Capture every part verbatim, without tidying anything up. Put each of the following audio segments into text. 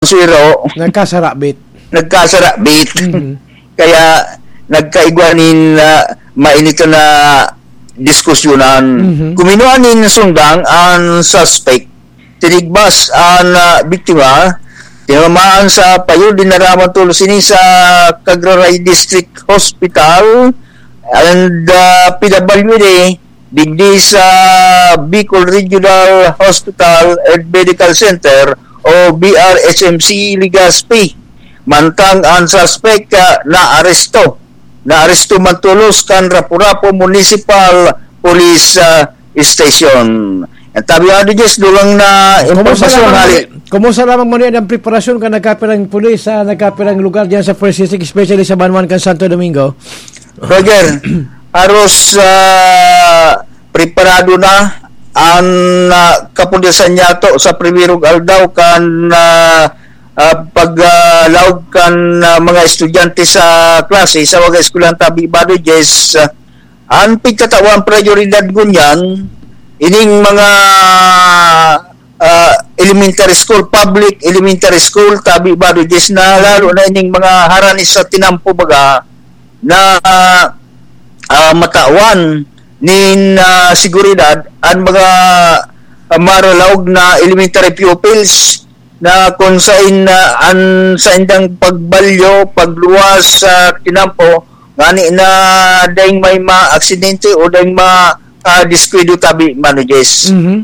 Suero, Nagkasarabit. nagkasarabit. Mhm. Kaya nagkaigwa nin ah, mainit na diskusyonan. Mhm. Kuminua nin sundang ang suspect. Tinigbas ang ah, biktima. Tinamaan sa payo, dinara man tulos ini sa Cagraray District Hospital and ah, P W D digdi sa Bicol Regional Hospital and Medical Center o B R H M C Legazpi. Mantang ang suspect ah, naaresto. Naaresto man tulos kan Rapu-Rapu Municipal Police ah, Station. Ang tabi nga, Jess, dugang na Kumusta impormasyon lamang, hali. Kumusta lamang man yan ang preparasyon kan nagkapirang pulis sa nagkapirang lugar diyan sa First District, especially sa Banwan kan Santo Domingo? Roger, haros ah, preparado na ang ah, kapulisan niyato sa primerong aldaw kan ah, ah, paglaog kan ah, mga estudyante sa klase sa mga eskwelahan tabi Bado Jess. Ah, ang pigtatawan prioridad ngunyan ining mga ah, elementary school, public elementary school tabi Bado Jess, na lalo na ining mga harani sa tinampo baga na ah, matawan nin ah, seguridad ang mga ah, maralaog na elementary pupils na kung sain na ang saindang pagbalyo, pagluwas sa tinampo, ngani na daing may mga aksidente o daing mga ah, diskuido tabi, Mano Jess. Mhm.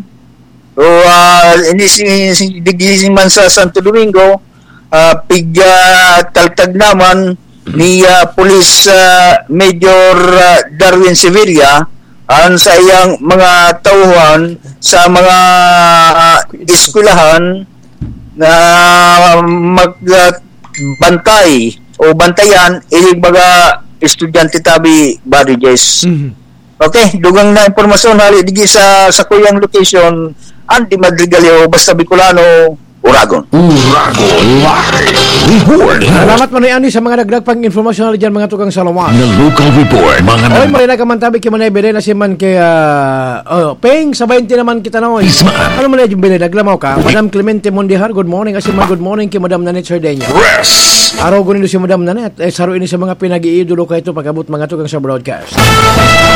So, ah, ini si, si digdi man sa Santo Domingo, ah, pig ah, taltag naman ni ah, Police ah, Major ah, Darwin Sevilla ang sa iyang mga tauhan sa mga ah, eskwelahan na mag ah, bantay o bantayan ining mga estudyante tabi, Bado Jess. Mhm. Okay, dugang na impormasyon hali digi sa sakuyang location, Andy Madrigaleo, basta Bicolano, Uragon. Uragon Live Report. Salamat man ni Andy sa mga dagdag pang informasyon na dyan, mga tukang salamat. Na local report, mga Oy, nag- marina ka man tabi kay Manay Belen, asin man kay ah, oh, Peng, sa twenty naman kita na, oy. Isma. Ano man yung binay, dagla mo ka? Madam Clemente Mondijar, good morning. Asin man, good morning kay Madam Nanette Sardeña. Press. Araw ko nindo si Madam Nanette, eh, saro ini sa mga pinag-iidolo ka ito pag-abot mga tukang sa broadcast.